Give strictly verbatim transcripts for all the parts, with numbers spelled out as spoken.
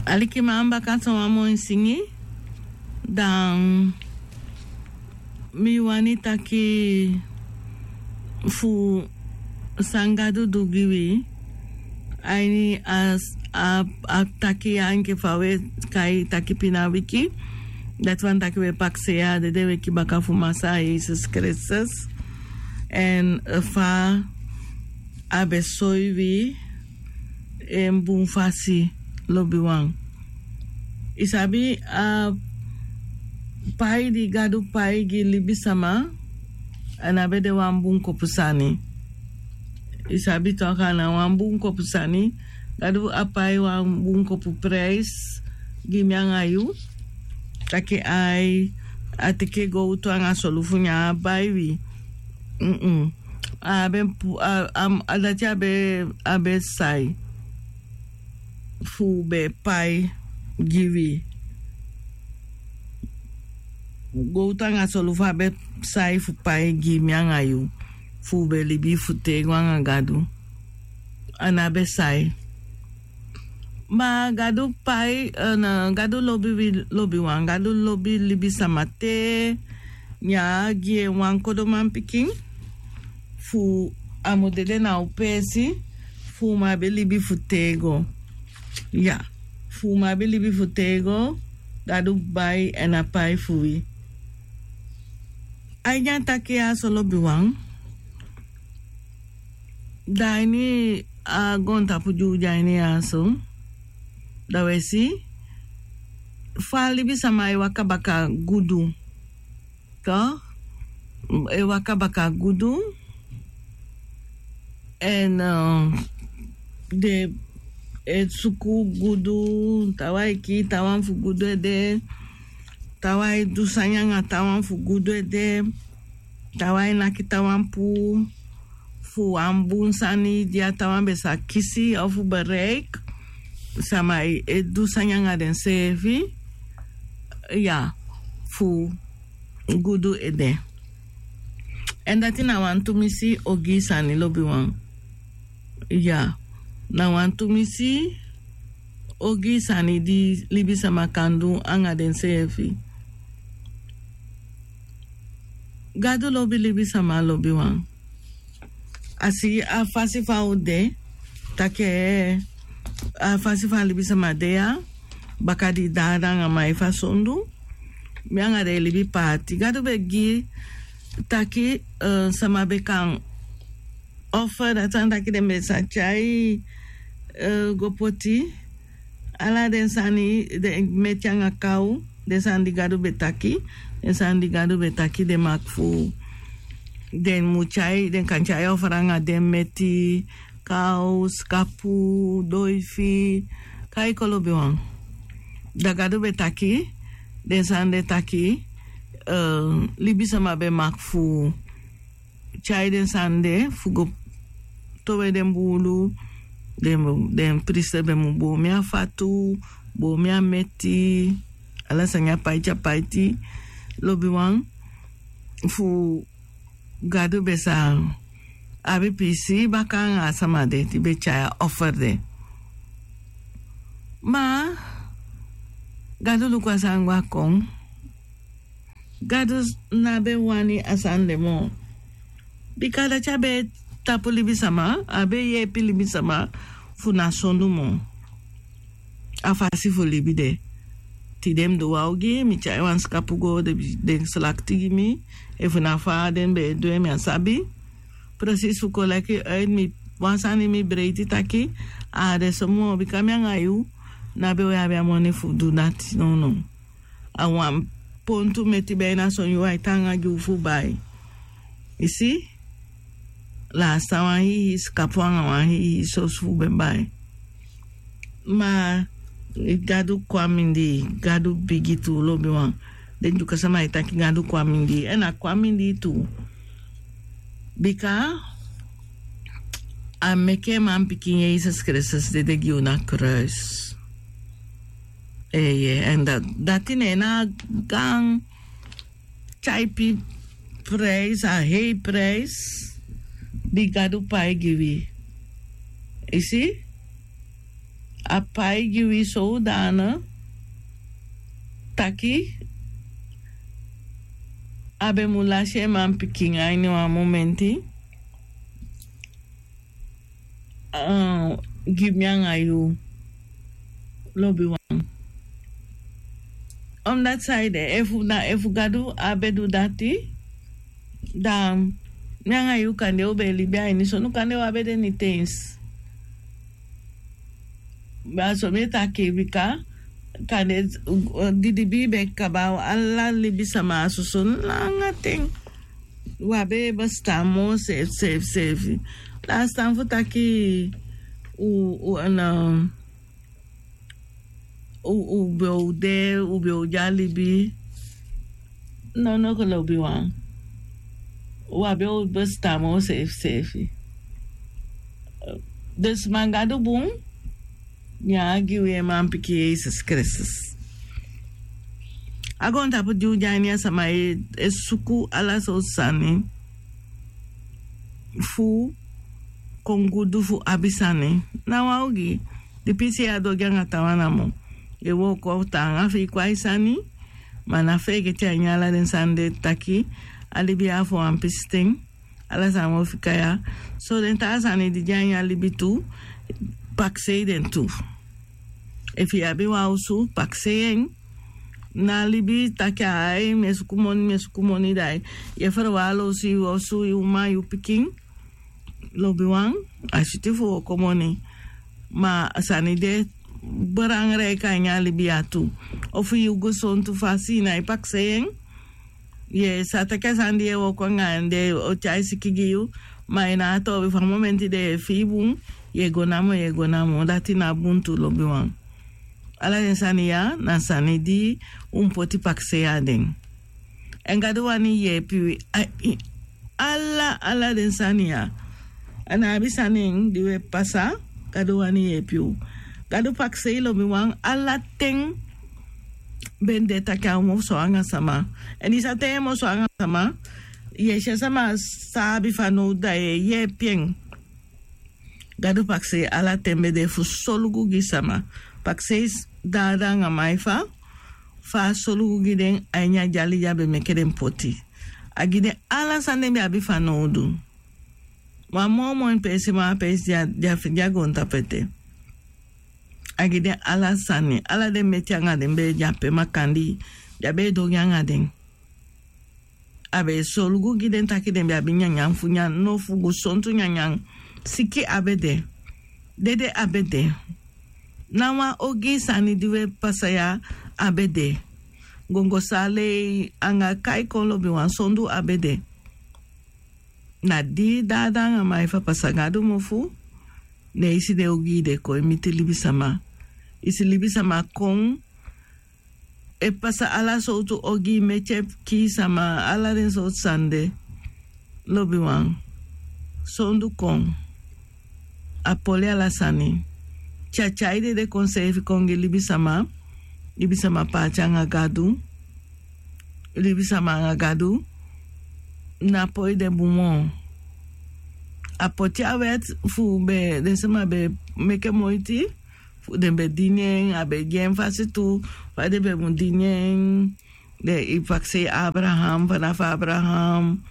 Alikiman, baka so wan moi singi. Dan mi wani taki fu san Gadu du gi wi. A ini a taki ya enke fa wi e kai taki pina wiki. Dati wani taki wi e pakisei a dede weki baka fu Masaa Yesus Kristus. Èn fa a be soi wi en bun fasi, lobiwan. I sabi a pai di Gadu pai gi libisama, a no be de wan bun kopu sani. I sabi tok' a no wan bun kopu sani. Gadu a pai wan bun kopu prijs gi mi anga yu. Taki ai a teke gowtu anga solufu nyan a bai wi. A be pu a dati a be sai fu be pai gi wi. Gowtu anga solufu a be sai fu pai gi mi anga yu fu be libi fu tego anga Gadu. A no be sai. Ma Gadu pai, Gadu lobi wi lobiwan, Gadu lobi libisama te nyan a gi en wan kodo manpikin fu a mu dede na u peesi fu u mu abi libi fu tego. Ya, fu u mu abi libi fu tego. Gadu bai èn a pai fu wi. A ini a taki ya so lobiwan. Da a ini a goontapu di u de a ini ya so, da wi e si fa libisama e waka baka gudu. Tok', e waka baka gudu. Èn den e suku gudu. Taawan e kii taawan fu gudu ede. Taawan e du sani anga taawan fu gudu ede. Taawan e naki taawan puu fu wan bun sani di a taawan be sa kisi ofu bereik. Sama e du sani anga denseefi, ya, fu gudu ede. Èn dati na wan tumisi ogii sani lobiwan. Ya, na wan tumisi ogii sani di libisama kan du anga denseefi. Gadu lobi libisama lobiwan. A si a fasi fa u de, taki a fasi fa libisama de ya, baka di dada anga mai fa sondu, mi anga den e libi paati. Gadu be gi taki sama be kan offer, dati wani taki den be sa tyai go poti ala den sani, den meti anga kaw, den sani di Gadu be taki, den sani di Gadu be taki den maki fu den mu tyai, den kan tyai offer anga den meti, kaw, skapu, doifi, kai kon lobiwan. Da Gadu be taki den sani de taki libisama be maki fu tyai den sani de fu go towe den buulu. Den prisi be mu boomi a fatu, boomi a meti, ala sani a paiti a paiti, lobiwan, fu Gadu be sa abi piisii baka anga a sama de di be tyai a offer de. Ma Gadu luku a sani go a kon. Gadu no be wani a sani de moo. Bika dati a be tapu libisama, a be yeepi libisama fu no sondu moo. A fasi fu libi de. Tide mi du wan ogii, mi tyai wan skapu go, den slakti gi mi. Efu na fa den be e du en mi á sabi. Presisi fu kon leki uit mi, wan sani mi breiti taki a á de so moo, bika mi anga yu no be o abi a moni fu du dati, nownow. A wan pontu meti be na son yuu ai taanga gi u fu bai. I si? Lasta wan hii skapu anga wan hii soso fu be bai. Ma Gadu kon a mindii, Gadu bigi tu, lobiwan. Den Dyuka sama e taki Gadu kon a mindii, èn a kon a mindii tu. Bika a meke manpikin Yesus Kristus dede gi u na kruis. Eeye, èn dati na en na a gaan tyaipi prijs, a hei prijs di Gadu pai gi wi. I si? A pai gi wi sowdana taki a be mu lasi en manpikin a ini wan momenti. Gi mi anga yu lobiwan. Omdati saide efu na efu Gadu a be du dati, dan mi anga yu kande u be e libi a ini sonu, kande u a be de nitens. Ma so mi e taki bika kande didibi be kaba ala libisama a soso langa ten. U a be e bestan moo seefi seefi seefi. Lastan fu taki u u na u u be o de u be o de a libi. Nono kolobiwan. U a be o bestan moo seefi seefi. Dus man Gadu bun. Nyan a gi wi en manpikin Yesus Kristus. A goontapu di u de a ini a sama e suku ala sowtu sani fu kon gudu fu abi sani. Na wan ogii di pisi e a du ogii anga taawan namo. Yu e wooko taanga fi i kon a i sani. Ma na feegete a ini ala den sani de taki a libi ya a fu wan pisiten. Ala sani wi o fika ya. So den taa sani di de a ini a libi tu, pakisei den tu. Efu yu abi wan osu, pakisei en. Na libi taki ai mi e suku moni mi e suku moni da yu e ferwaala osu yu osu yu uman yu pikin. Lobiwan, a switi fu wooko moni. Ma a sani de belangrijk a ini a libi ya tu. Ofu yu gesontu fasi na yu pakisei en. Yu e sa taki a sani di yu e wooko anga en den o tyai siki gi yu. Ma yu na a toobi fu a momenti den yu e fii bun, yu e go namo yu e go namo dati na bun tu lobiwan. Ala den sani ya na sani di un poti pakisei a den. Èn Gadu wani yeepi wi. Ala ala den sani ya. A ná abi sani en di wi e pasa. Gadu wani yeepi u. Gadu pakisei lobiwan ala ten. Ben de taki a o mu so anga sama. Èn i sa ten yu e mu so anga sama, yu e si a sama sa abi fanowdu da yu e yeepi en. Gadu pakisei ala ten be de fu solugu gi sama. Pakisei dada anga maifa fa a solugu gi den a ini a dyali di a be meke den poti. A gi den ala sani den be abi fanowdu. Wan moo moi peesi moo a peesi di a fende a goontapu ete. A gi den ala sani ala den meti anga den be de ape makandii di a be e du ogii anga den. A be e solugu gi den taki den be abi nyanyan fu nyan no fu gesontu nyanyan. Siki a be de. Dede a be de. Na wan ogii sani di wi e pasa ya a be de. Gongosa lei anga kai kon lobiwan sondu a be de. Na di dada anga maifa pasa Gadu mofu. Ne i si den ogii de kon e miti libisama. I si libisama kon e pasa ala sowtu ogii meti e kii sama ala den sowtu sani de. Lobiwan. Sondu kon. A poli ala sani. Tyatyai dede kon seefi kon gi libisama. Libisama paati anga Gadu. Libisama anga Gadu. Na poi den bun moo. A poti a wèt fu be den sama be meke moiti fu den be dini en a be gi en fasi tu. Fa den be mu dini en. Den i pakisei Abraham fanafu Abraham.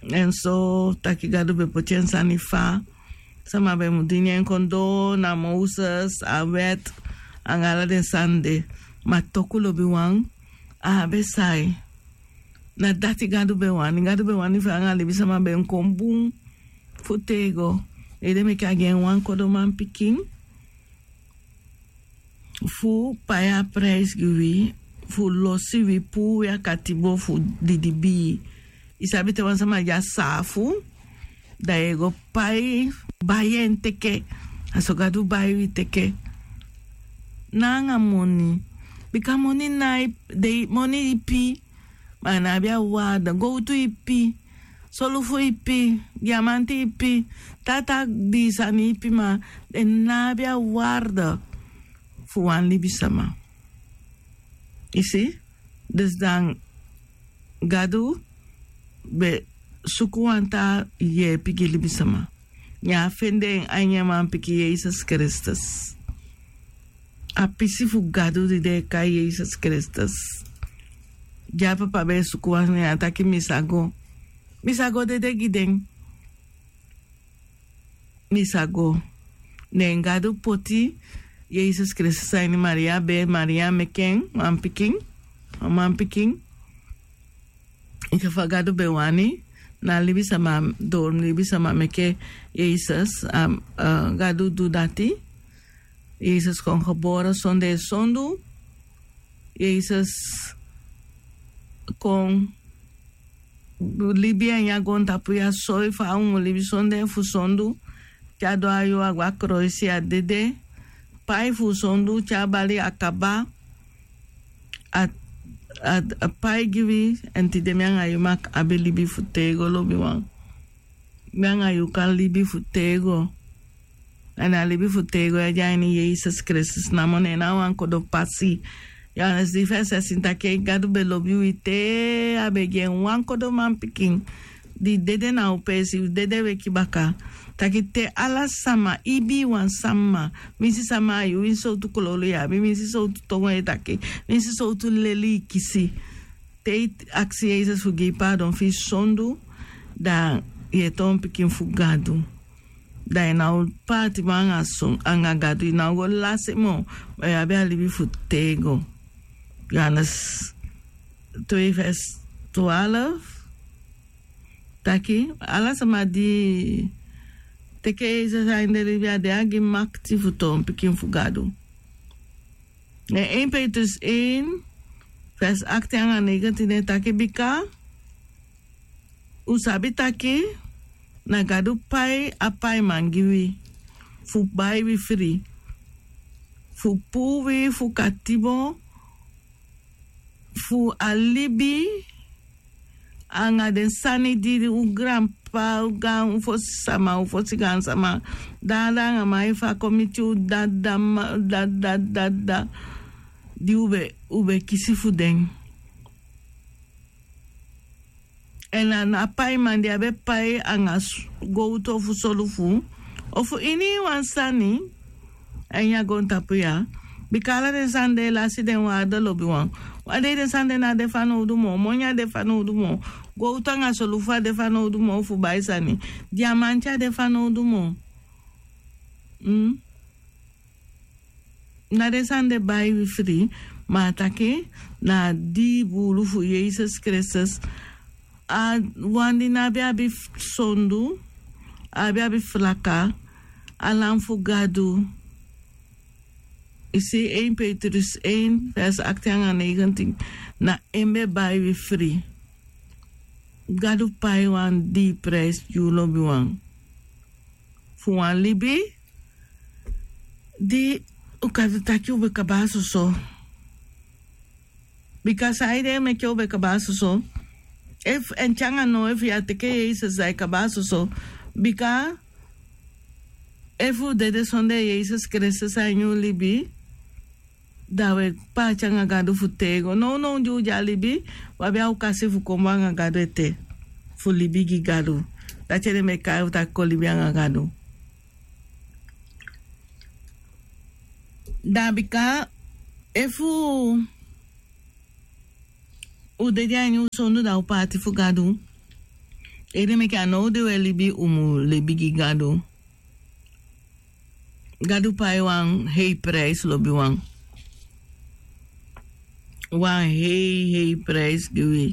Èn so taki Gadu be poti en sani fa sama be mu dini en kon doo na Moses a wèt anga ala den sani de. Ma toku lobiwan a á be sai. Na dati Gadu be wani Gadu be wani fu en anga libisama be mu kon bun. Fu tego. Ede meke a gi en wan kodo manpikin fu pai a prijs gi wi fu losi wi puu wi a katibo fu didibii. I sabi te wan sama di a saafu da yu e go pai bai en teke. A so Gadu bai wi teke. Na anga moni. Bika moni na e dei moni ipi. Ma a ná abi a warde gowtu ipi. Solufu ipi. Diamanti ipi. Tata di sani ipi ma den ná abi a warde fu wan libisama. I si. Dus dan Gadu be suku wan taa yeepi gi libisama. Ne a fende en a ini en manpikin Yesus Kristus. a pisi fu Gadu di den e kai Yesus Kristus. Di a papa be e suku wan sani, a taki: Mi sa go, mi sa go dede gi den. Mi sa go. Ne Gadu poti Yesus Kristus a ini Maria bee. Maria meke en wan pikin, wan manpikin. Enke fa Gadu be wani, na libisama, doro libisama meke Yesus, a, a, Gadu du dati. Yesus kon gebore sondee sondu. Yesus kon libi a ini a goontapu ya, soi fa un mu libi sondee fu sondu. Te a du a yuu, a go a kroisi, a dede, pai fu sondu, te a bali, a kaba. A, a, a pai gi wi, èn tide mi anga yu mag abi libi fu tego, lobiwan. Mi anga yu kan libi fu tego. Èn a libi fu tego ya de a ini Yesus Kristus namo. Ne en na wan kodo pasi. Yohanes dii fesi sikiin taki Gadu be lobi wi te a be gi en wan kodo manpikin di dede na u peesi, dede weki baka. Taki te ala sama, ibiwan sama, winsi sama a yu, winsi sowtu kololu yu abi, winsi sowtu tongo yu e taki, winsi sowtu leli yu kisi, te yu aksi Yesus fu gi yu paadon fu yu sondu, da yu e toon pikin fu Gadu. Da yu ná o paati moo anga son, anga Gadu, yu ná o go lasi moo, ma yu abi a libi fu tego. Yohanes twee vers twaalf taki, ala sama di teke Yesus a ini den libi, a de a gi makiti fu toon pikin fu Gadu. Ne één Petrus één, vers achttien anga negentien e taki: Bika u sabi taki na Gadu pai a paiman gi wi, fu bai wi fri, fu puu wi fu katibo fu a libi anga den sani di un granpapa, un gaan, un fosi sama, un fosi gaansama, dada anga man e fako miti un, dada, ma-, dada, dada, di un be, un be kisi fu den. Èn a ná paiman di a be pai anga s-, gowtu ofu solufu, ofu iniwan sani, a ini a goontapu ya. Bika ala den sani de e lasi den waarde, lobiwan. Wan dei den sani de ná de fanowdu moo, moni á de fanowdu moo, gowtu anga solufu á de fanowdu moo fu bai sani, diamanti á de fanowdu moo. Mm? Na den sani de bai wi fri, ma a taki na a dii buulu fu Yesus Kristus, a wan di ná be abi f-, sondu, á be abi flaka, a Lam fu Gadu. I si, één Petrus één, vers achttien anga negentien, na en be bai wi fri. Gadu pai wan dii prijs gi u, lobiwan, fu wan libi di u kan taki u be kaba soso. Bika saide meke u be kaba soso? Efu, èn te anga now, efu yu á teke Yesus, da i kaba soso. Bika efu u dede sondee Yesus Kristus a ini u libi, da u e paati anga Gadu fu tego. Nownow di u de a libi, u abi a okasi fu kon anga Gadu ete, fu libi gi Gadu. Dati ede meke u taki kon libi anga Gadu. Da bika efu u dede a ini u sondu, da u paati fu Gadu. Ede meke a now di u e libi, u mu libi gi Gadu. Gadu pai wan hei prijs, lobiwan. Wan hei, hei prijs gi wi.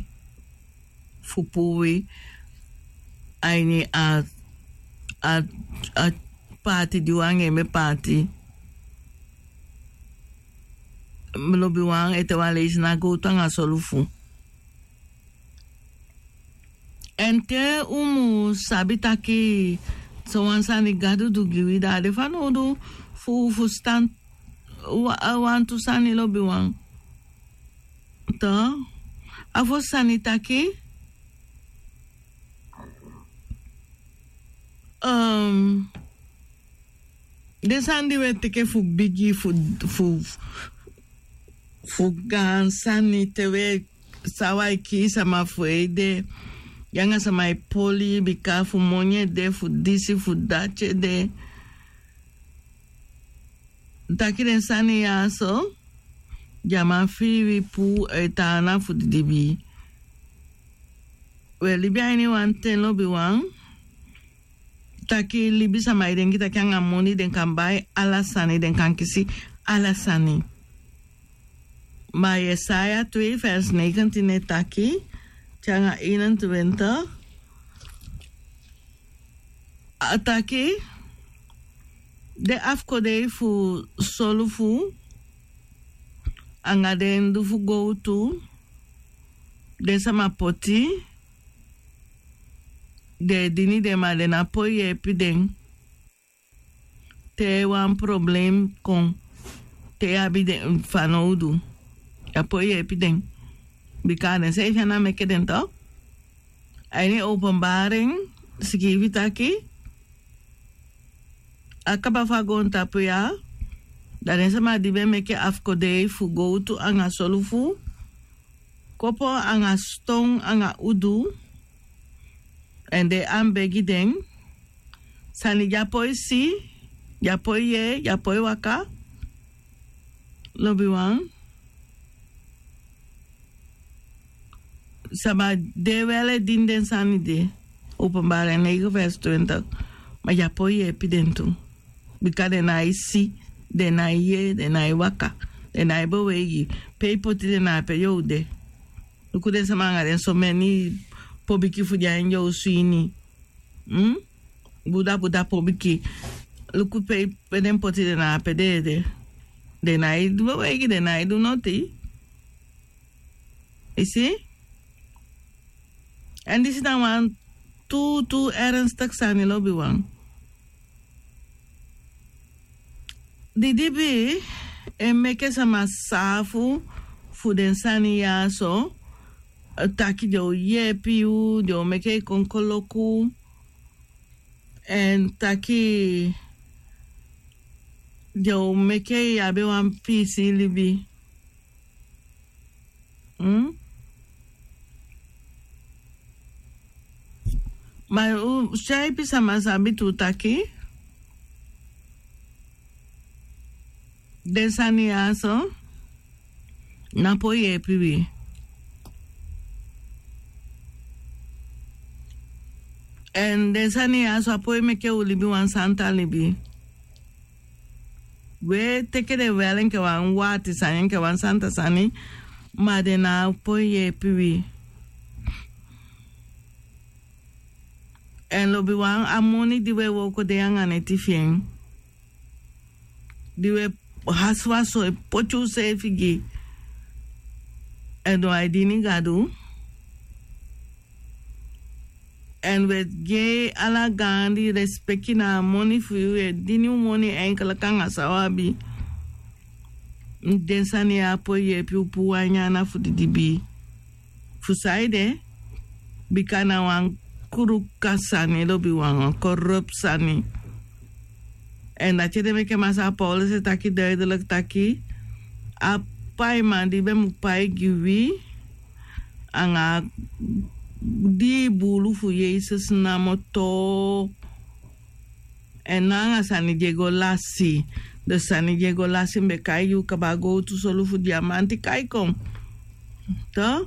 Fu puu wi a ini a, a, a paati di u anga en be paati. Lobiwan, ete wan leisi, na gowtu anga solufu. Èn te u mu sabi taki sowan sani Gadu du gi wi, da a de fanowdu fu, fu fusutan wa-, wantu sani, lobiwan. To, a fosi sani taki, um, den sani di u e teke fu bigi, fu, fu, fu gaan sani, te u e, san u e kii sama fu ede, yu anga sama e poli bika fu moni ede, fu disi, fu dati ede. taki den sani ya so, di a man fii wi puu e tan ana fu didibii. Wi e libi a ini wan ten lobiwan, taki libisama e denki taki anga moni den kan bai ala sani, den kan kisi ala sani. Ma Yesaya twee vers negentien e taki te anga eenentwintig, a taki den afkodei fu solufu anga den du fu gowtu, den sama poti, den e dini den, ma den no poi yeepi den. Te wan problem kon, te yu abi den fanowdu, yu á poi yeepi den. Bika a den seefi ana meke den to. A ini Openbaring sikiifi taki, a kaba fu a goontapu ya, da den sama di be meke afkodei fu gowtu anga solufu, kopo anga ston anga udu, èn den e anbegi den sani di a poi si, di a poi yee, di a poi waka. Lobiwan, sama de wel e dini den sani de, Openbaring negen vers twintig, ma di a poi yeepi den tu. Bika den nái si, den nái yee, den nái waka, den nái beweigi. Pe i poti den na ape yu o de. Luku den sama anga den someni pobiki fu den a ini den osu ini. Buda buda pobiki. Luku pe den poti den na ape den e de. Den nái du beweigi, den nái du noti. I si? Èn disi na wan tu tu ernstig sani lobiwan. Didibii e meke sama saafu fu den sani ya so, taki den o yeepi yu, den o meke i kon koloku, èn taki den o meke i abi wan piisii libi. Ma u si a ipi sama sabi tu taki den sani ya so no poi yeepi wi. Èn den sani ya so á poi meke u libi wan santa libi. We teke den wel enke wan wati sani, enke wan santa sani, ma den no poi yeepi wi. Èn lobiwan, a moni di we wooko de anga neti fi en, di we hasiwasi e poti useefi gi, èn u á e dini Gadu. Èn we gi en ala gaandi respeki na a moni fu yu, we dini u moni enkeliki anga san u abi. Den sani ya á poi yeepi u puu wan nyan ana fu didibii. Fu saide? Bika na wan kruka sani lobiwan, wan korupu sani. Èn dati ede meke Masaa Paulus e taki duidelijk taki a paiman di be mu pai gi wi anga a dii buulu fu Yesus namo too. Èn no anga sani di e go lasi. Den sani di e go lasi mi be kai gi u kaba, gowtu, solufu, diamanti, kaikon. To?